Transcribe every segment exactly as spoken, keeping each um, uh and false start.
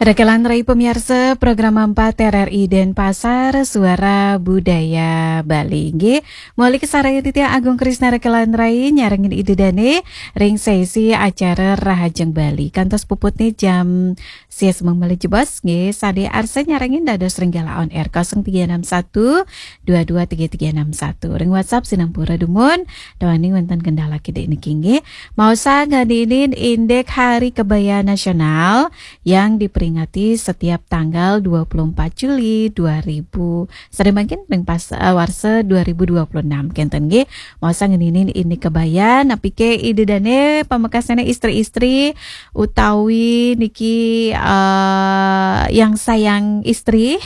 Rekelan rai pemiarsa program empat R R I Denpasar, Suara Budaya Bali. Nggih, malih kasarengin titiang Agung Krisna rekelan rai nyarengin Ida Dane ring sesi acara Rahajeng Bali. Kantos puputne jam sia semeng malih jebos, nggih, sane arsa nyarengin dados ring Gala On Air kosong tiga enam satu dua dua tiga tiga enam satu. Ring WhatsApp sinampura dumun, duaning wenten kendala kidik niki, nggih. Maosang ngeninin indik Hari Kebaya Nasional yang diperingati setiap tanggal dua puluh empat Juli dua ribu, sane mangkin ring pas, eh, warsa dua ribu dua puluh enam kenten, nggih. Maosang ngeninin indik kebaya, napike Ida Dane pamekasane istri-istri utawi niki, eh, yang sayang istri.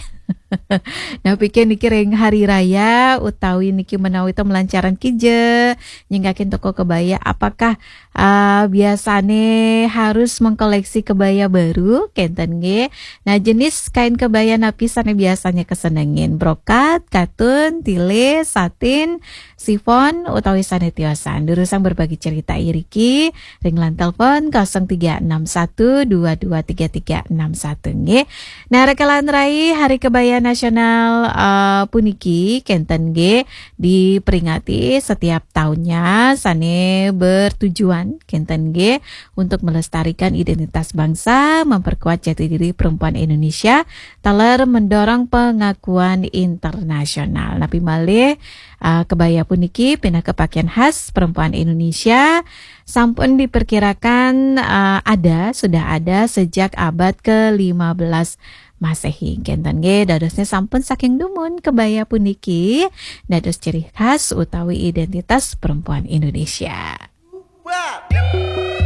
Napike niki ring hari raya utawi niki menawi to melancaran kija nyinggakin toko kebaya, apakah, eh, biasane harus mengkoleksi kebaya baru kenten, nggih? Nah, jenis kain kebaya napi sane biasanya kesenengin? Brokat, katun, tile, satin, sifon, utawi sane tiosan? Durusang berbagi cerita iriki ring line telepon kosong tiga enam satu dua dua tiga tiga enam satu, nggih. Nah, rekelan rai Hari Kebaya Nasional, eh, puniki kenten, nggih, diperingati setiap tahunnya, sane bertujuan kenten, nggih, untuk melestarikan identitas bangsa, memperkuat jati diri perempuan Indonesia, taler mendorong pengakuan internasional. Napi malih, eh, kebaya puniki pinaka pakaian khas perempuan Indonesia, sampun diperkirakan, eh, ada, sudah ada sejak abad ke lima belas Masehi. Kenten, nggih, dadosnya sampun saking dumun kebaya puniki dados ciri khas utawi identitas perempuan Indonesia.